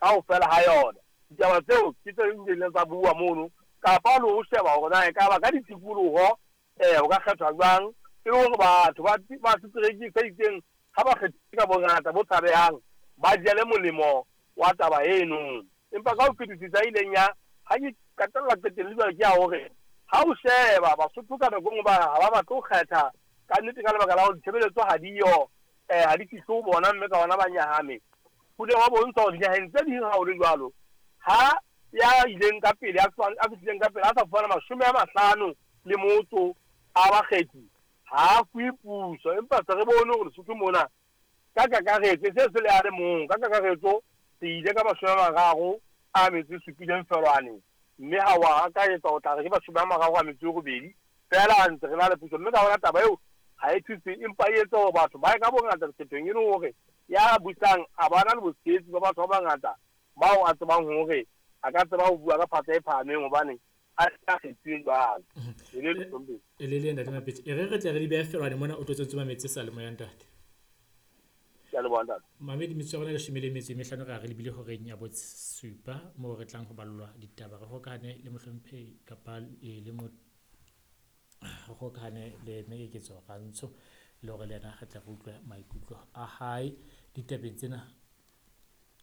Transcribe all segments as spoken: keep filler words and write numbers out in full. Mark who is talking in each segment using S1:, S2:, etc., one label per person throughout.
S1: Kaofela ha yona ditaba tseo ke tse ileng tsa bua mono, kapa le ho sheba hore na ekaba ka ditikoloho um o ka kgethwa jwang e le hore batho ba setereke se itseng ha ba kgethile ka bongata bo tshabehang ba jele molemo wa taba eno. Empa ka ho fetisisa ileng ya ha ke qetella qetelle jwale ke ya hore ha o sheba Basotho ka nako e nngwe ba ha ba batle ho kgetha ka nnete ka lebaka la hore ditshebeletso ha diyo, um ha di fihle ho bona, mme ka hona ba nyahame. Ho ile hwa bontsha hore dinaheng tse ding ha ho le jwalo, ha ya ileng ka pele a fihlileng ka pele a sa fumana mashome a mahlano le motso a bakgethi ha a fuwe puso. Empa se re bone hore Lesotho mona ka kakaretso se se le a le mong, ka kakaretso se ile ka mashome a mararo a metso e supileng feelwane, mme ha wa akaretsa o tla re ke mashome a mararo a metso e robedi feela a ntse re na le puso. Mme ka hona taba eo ha e thuse, empa e etsa hore batho ba ye ka bongata dikgethong, e le hore ya busang a ba na le botshehetsi ba batho ba bangata bao a tsebang hore a ka tseba ho bua ka phatla e phahameng hobane a kgethuwe jwalo.
S2: E le le ntate Mapetse, e re re tle re di behe feelwane mona o tlo tsoma metsi sa le moya ntate.
S1: Ke a leboha ntate.
S2: Mamedi metso ya rona leshome le metso e mehlano re a re lebile horeng ya bosupa moo re tlang ho ballwa ditaba. Re hokahane le mohlomphehi kapa le mo re hokahane le Mme Keketso Rantsho le hore le yena re tle re utlwe maikutlo a hae ditabeng tsena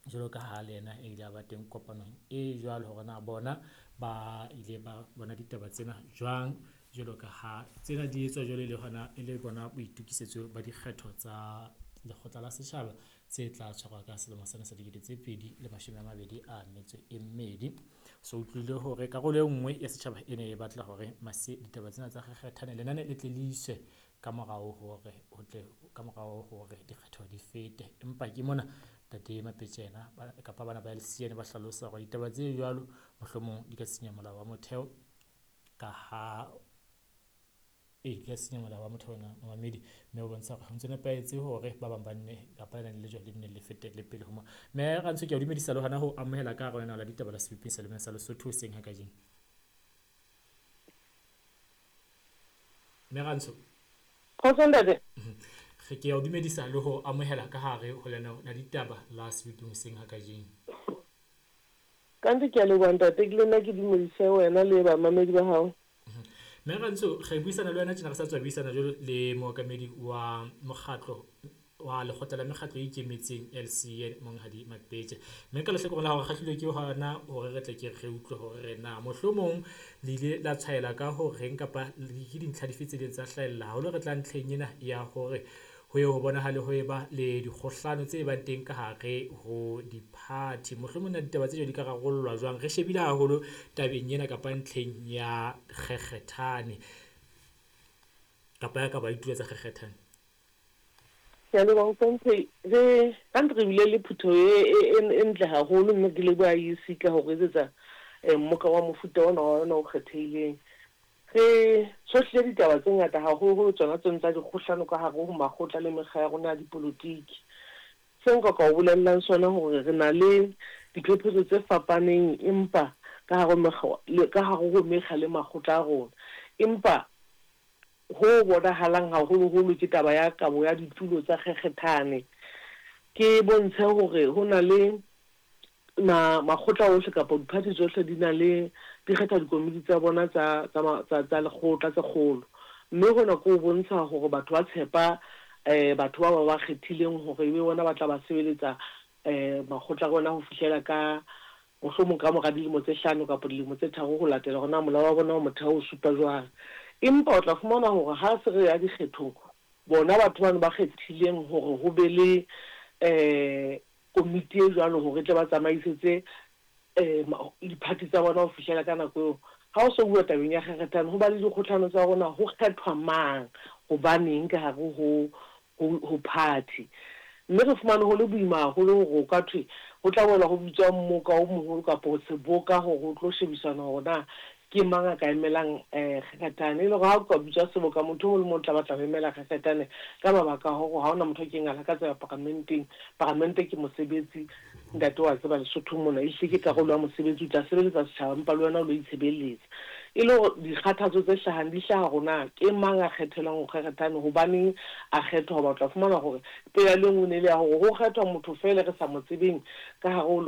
S2: jwalo ka ha le yena e ile a ba teng kopanong e jwalo, hore na bona ba ile ba bona ditaba tsena jwang jwalo ka ha tsena di etswa jwalo le hona e le bona boitokisetso ba dikgetho tsa lekgotla la setjhaba tse tla tshwarwa ka selemo sena sa dikete tse pedi le mashome a mabedi a metso e mmedi. So utlwile hore karolo e nngwe ya setjhaba e ne e batla hore mase ditaba tsena tsa kgekgethane lenane le tle le iswe ka morao hore ho tle ka morao hore dikgetho di fete. Empa ke mona Ntate Mapetse yena kapa bana ba L C N ba hlalosa hore ditaba tse jwalo mohlomong di ka senya molao wa motheo ka ha e di ka senya molao wa motheo ona mamedi, mme o bontsha hore ho ntse nepahetse hore ba bang ba nne kapa lenane le jwalo le nne le fete le pele ho mo. Mme Rantsho ke a o dumedisa le hona ho amohela ka hare ho lenaneo la ditaba la Sebopeng sa Lemeng sa Lesotho hoseng ha kajeno. Mme Rantsho.
S3: Kgotso ntate.
S2: Re ke a o dumedisa le ho amohela ka hare ho lenaneo la ditaba la Sebopeng hoseng ha kajeno.
S3: Ka nnete ke a leboha ntate, ke le nna ke dumedise wena le bamamedi ba hao.
S2: Mme Rantsho, re buisana le wena tjena re sa tswa buisana jwalo le mookamedi wa mokgatlo wa lekgotla la mekgatlo e ikemetseng L C N Monghadi Mapetse. Mme ka lehlakoreng la hore kgahlilwe ke hona hore re tle ke re utlwe hore re na mohlomong le ile la tshwaela ka ho reng kapa ke dintlha dife tse ileng tsa hlahella haholo re tla ntlheng ena ya hore ho ye ho bonahale ho eba le dikgohlano tse bang teng ka hare ho di-party. Mohlomong na ditaba tse jwalo di ka rarollwa jwang? Re shebile haholo tabeng ena kapa ntlheng ya kgekgethane kapa ya ka ba ditulo tsa kgekgethane.
S3: Ke a leboha mohlomphehi. Re ka nnete re bile le phutho e e ntle haholo, mme ke leboha I E C ka ho re etsetsa mmoka wa mofuta ona wa ona o kgethehileng. Re tshohlile ditaba tse ngata haholoholo tsona tseno tsa dikgohlano ka hare ho makgotla le mekga ya rona ya dipolotiki. Se nka ka o bolellang sona hore re na le diphephetso tse fapaneng empa ka hare ka hare ho mekga le makgotla a rona. Empa ho bonahalang haholoholo ke taba ya kabo ya ditulo tsa kgekgethane. Ke bontshe hore ho na le ma makgotla ohle kapa di-party tsohle di na le di kgetha dikomiti tsa bona tsa tsa tsa tsa lekgotla tse kgolo. Mme hona ke ho bontsha hore batho ba tshepa um batho ba ba ba kgethileng hore ebe bona ba tla ba sebeletsa um makgotla a rona ho fihlela ka mohlomong ka mora dilemo tse hlano kapa dilemo tse tharo ho latela hore na molao wa bona wa motheo o supa jwang. Empa o tla fumana hore ha se re ya dikgethong, bona batho bano ba kgethileng hore ho be le um komiti e jwalo hore tle ba tsamaisetse um di-party tsa bona ho fihlela ka nako eo. Ha o so bua tabeng ya kgekgethane, ho ba le dikgohlano tsa rona ho kgethwa mang, hobaneng ka hare ho ho party. Mme re fumane ho le boima haholo hore o ka thwe ho tla boela ho bitswa mmoka o moholo kapa seboka hore ho tlo shebisana hore na ke mang a ka emelang um kgekgethane. E le hore ha o ka bitswa seboka, motho o mong le mong o tla batla ho emela kgekgethane ka mabaka a hore ha hona motho a keng a lakatsa ho ya paramenteng. Paramente ke mosebetsi, ntate wa tseba Lesotho mona, ehlile ke karolo ya mosebetsi, o tla sebeletsa setjhaba empa le wena o lo itshebeletsa. E le hore dikgathatso tse hlahang di hlaha hore na ke mang a kgethelwang ho kgekgethane, hobaneng a kgethwa, hoba o tla fumana hore pelaelo e nngwe ne le ya hore ho kgethwa motho feela re sa mo tsebeng ka hare ho